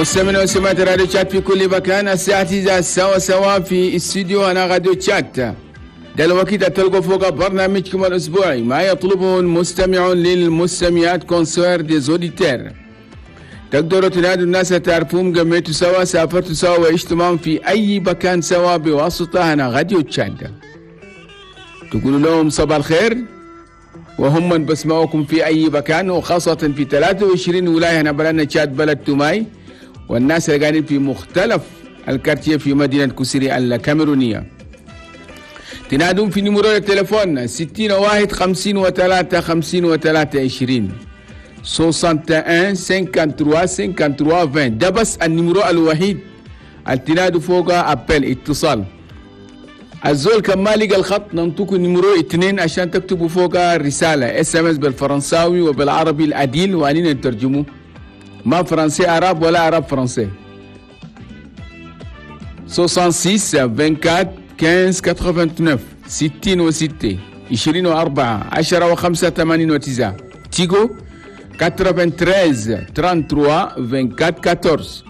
مستمعين ومستمعات راديو تشاد في كل مكان، الساعة 9 سوا سوا في استوديو هنا راديو تشاد. ده الوقت تلقوا فوق برنامجكم الأسبوعي ما يطلبه المستمعون للمستمعات، concert des auditeurs. تقدروا تنادوا الناس تعرفوهم، جمعتوا سوا، سافرتوا سوا، وعشتوا معهم في أي مكان سوا بواسطة هنا راديو تشاد. تقولوا لهم صباح الخير وهم من بسمعوكم في أي مكان، وخاصة في 23 ولاية هنا بلدنا تشاد بلد توماي، والناس اللي قاعدين في مختلف ال quartiers في مدينة كوسيري الكاميرونية. تنادون في numéro التليفون 61 53 53 20، 61 53 53 20. ده بس ال numéro الوحيد اللي تنادوا فوق appel اتصال. الزول كان ما لقى الخط ننطوكوا numéro 2 عشان تكتبوا فوق رسالة SMS بالفرنساوي وبالعربي العديل وانينا نترجمه، ما français arabe ولا arabe français. 66 24 15 89، 66 24 10 و5 89. تيجو 93 33 24 14،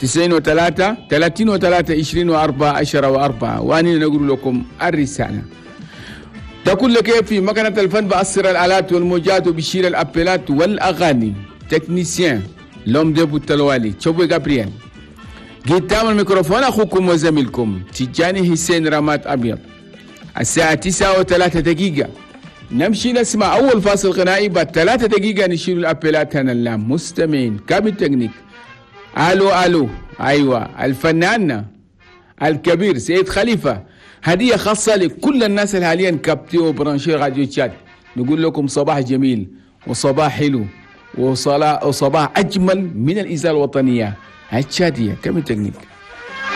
93 33 24 10 و4، وأنا نقول لكم الرسالة. ده كل كيف في مكنة الفن بأسر الآلات والموجات وبشير الأبيلات والأغاني، technicien l'homme de بوتلوالي تشوبي جابرييل. قدام الميكروفون أخوكم وزميلكم تجاني حسين رمات أبيض. الساعة 9:03 نمشي نسمع أول فاصل غنائي، بعد 3 دقيقة نشيل الأبيلات هنا المستمعين. cabine technique، ألو ألو، أيوة الفنان الكبير سيد خليفة، هدية خاصة لكل الناس اللي حاليا captés و branchés راديو تشاد. نقول لكم صباح جميل وصباح حلو وصباح أجمل من الإذاعة الوطنية التشادية. cabine technique.